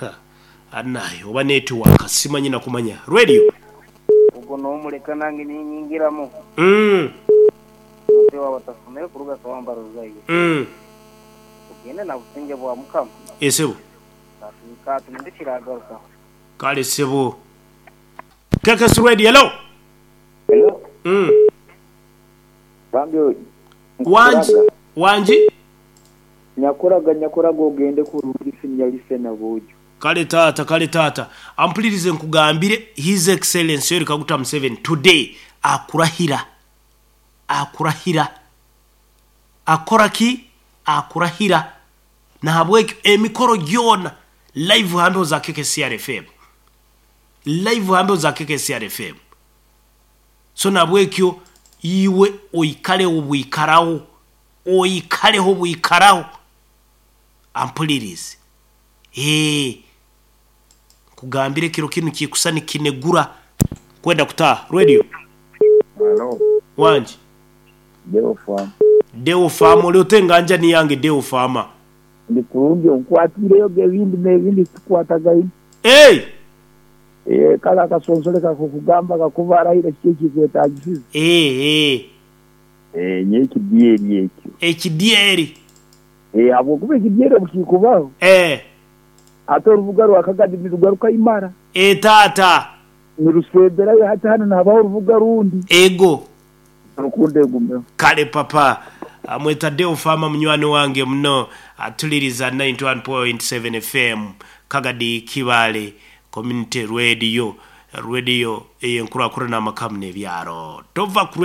Ha, anaye oba netiwaaka simanyi na kumanya. Radio. Ogwo n'omuleka nange ninyingiramu. Omuntu owaba atasomere kuruga Kawamba Rozaire. Tugende na busingye bwa Mukama. Esebo. Ka tuminde kiragarukaho. Kale sebo. KKS Radio, hello. Hello. Bambi Wangi, nkukuraga. wangi. Nyakuraga nyakuraga ogende kurungi senior listener bojo. Kale taata, kale taata. Ampulirize nkugambire His Excellency Yoweri Kaguta Museveni today akurahira. Akurahira. Akora ki? Akurahira. Nahabwekyo emikoro gyona live hambeho za KKCR FM. Live hambeho za KKCR FM. So nabwekyo iwe oikaleho bwikaraho. Oikaleho bwikaraho. Ampulirize. Ee. Kugambire kiro kinu kikusa nikinegura kwenda kutaha. Radio. Hello. Wangi. Deo Farm. Deo Farm oli otenganja ni yange Deo Farmer. Ndi kurungi onkwatiireyo ebindi n'ebindi tukwatagaine. Hey! Eh, kale akasonsole kakukugamba kakuba arahire kiki ekikwetagisize. Eh eh. Eh, nyo ekidyeri ekyo. Ekidyeri. Eh, habwokuba ekidyeri obukikubaho. Eh. Ate orubuga rwa Kagadi nirugaruka imara. Eh taata. Nirusemberayo hati hanu nihabaho orubuga rundi. Ego. Rukundo egumeho. Kale papa. Amweta Deo Farmer munywani wange muno atuliriza 91.7 FM Kagadi Kibale Community Radio, radio eyenkurakurana amakamu n'ebyaro. Tova ku.